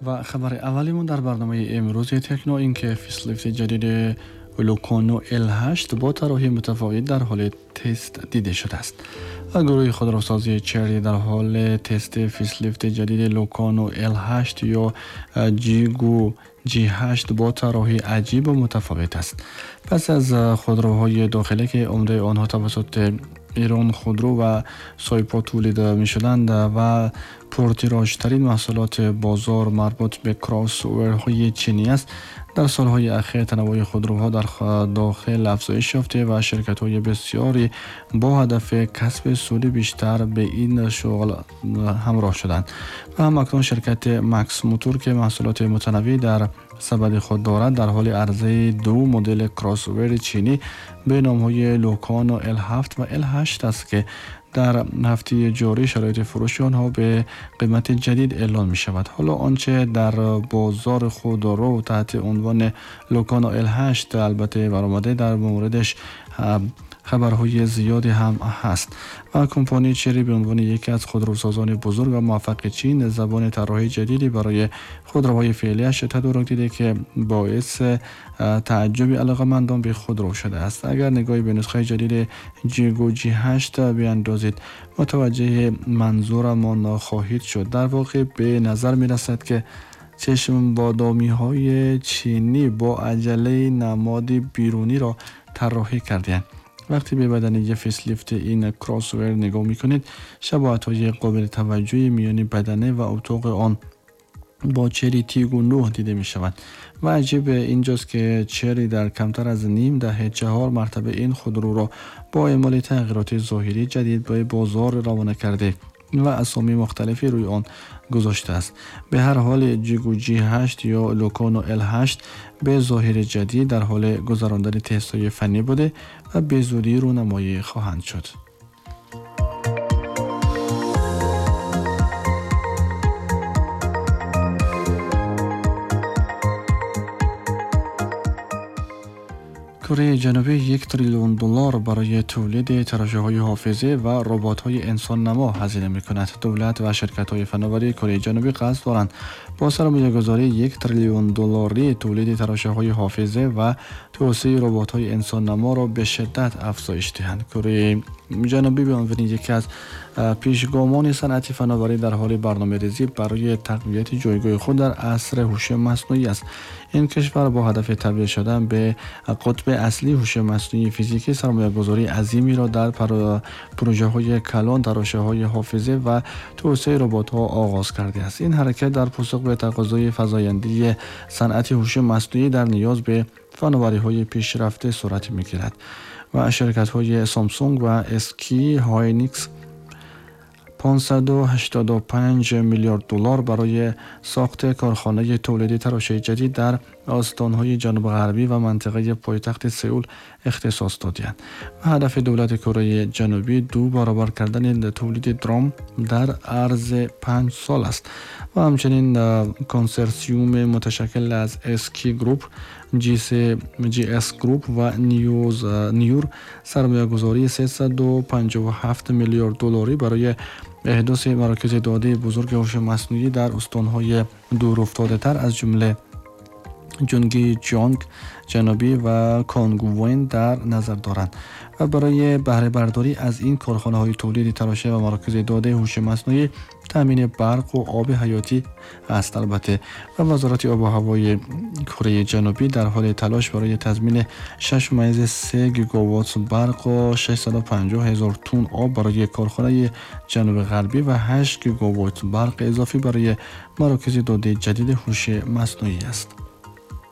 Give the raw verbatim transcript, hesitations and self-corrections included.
و خبر اولیمون در برنامه امروز تکنو این که facelift جدید لوکانو ال هشت با طراحی متفاوت در حال تست دیده شده است. و گروه خودروسازی چری در حال تست facelift جدید لوکانو ال هشت یا جیگو جی هشت با طراحی عجیب و متفاوت است. پس از خودروهای داخلی که عمده آنها توسط ایران خودرو و سایپا تولید می شدند و پرتیراژترین محصولات بازار مربوط به کراس اوورهای چینی است، در سالهای اخیر تنوع خودروها در داخل افزایش یافته و شرکت‌های بسیاری با هدف کسب سود بیشتر به این شغل همراه شدند. و هم اکنون شرکت مکس موتور که محصولات متنوعی در سبد خود دارد در حال عرضه دو مدل کراس اوور چینی به نام‌های لوکانو ال هفت و ال هشت است که در هفته جاری شرایط فروش آنها به قیمت جدید اعلان می شود. حالا آنچه در بازار خودرو تحت عنوان لوکانو ال هشت البته برآمده در موردش خبرهای زیادی هم هست. و کمپانی چری به عنوان یکی از خودروسازان بزرگ و موفق چین زبان طراحی جدیدی برای خودروهای فعلیش تدارک دیده که باعث تعجب علاقه‌مندان به خودرو شده است. اگر نگاهی به نسخه جدید جیگو جی هشت بیاندازید متوجه منظورمان خواهید شد. در واقع به نظر می رسد که چشم بادامی های چینی با عجله نماد بیرونی را طراحی کردند. وقتی به بدنه facelift این کراس اوور نگاه میکنید شباهت‌های قابل توجهی میان بدنه و اتاق آن با چری تیگو نه دیده می شود. و عجیب اینجاست که چری در کمتر از نیم دهه چهار مرتبه این خودرو را با اعمال تغییرات ظاهری جدید به بازار روانه کرده و اسامی مختلفی روی آن گذاشته است. به هر حال جیگو جی هشت یا لوکانو ال هشت به ظاهر جدید در حال گذراندن تست‌های فنی بوده و به زودی رونمایی خواهند شد. کره جنوبی یک تریلیون دلار برای تولید تراشه‌های حافظه و ربات‌های انسان نما هزینه می‌کند. دولت و شرکت‌های فناوری کره جنوبی قصد دارند با سرمایه‌گذاری یک تریلیون دلاری تولید تراشه‌های حافظه و توسعه ربات‌های انسان نما را به شدت افزایش دهند. کره جنوبی به عنوان یکی از پیشگامان صنعت فناوری در حال برنامه‌ریزی برای تقویت جایگاه خود در عصر هوش مصنوعی است. این کشور با هدف تبدیل شدن به قطب اصلی هوش مصنوعی فیزیکی سرمایه‌گذاری عظیمی را در پروژه‌های کلان تراشه‌های حافظه و توسعه ربات‌ها آغاز کرده است. این حرکت در پاسخ به تقاضای فزاینده صنعت هوش مصنوعی در نیاز به فناوری‌های پیشرفته صورت می‌گیرد و شرکت‌های سامسونگ و اسکی هاینیکس پانصد و هشتاد و پنج میلیارد دلار برای ساخت کارخانه تولیدی تراشه جدید در استان‌های جنوب غربی و منطقه پایتخت سئول اختصاص دادند. و هدف دولت کره جنوبی دو برابر کردن تولید درام در عرض پنج سال است. و همچنین کنسرسیوم متشکل از اسکی گروپ، جی اس گروپ و نیوز نیور سرمایه‌گذاری سیصد و پنجاه و هفت میلیارد دلاری برای احداث مراکز داده بزرگ هوش مصنوعی در استان‌های دورافتاده‌تر از جمله جونگی جانگ جنوبی و کانگوین در نظر دارند. و برای بهره برداری از این کارخانه‌های تولید تراشه و مراکز داده هوش مصنوعی تامین برق و آب حیاتی است. البته و وزارت آب و هوای کره جنوبی در حال تلاش برای تضمین شش ممیز سه گیگاوات برق و ششصد و پنجاه هزار تن آب برای کارخانه جنوب غربی و هشت گیگاوات برق اضافی برای مراکز داده جدید هوش مصنوعی است.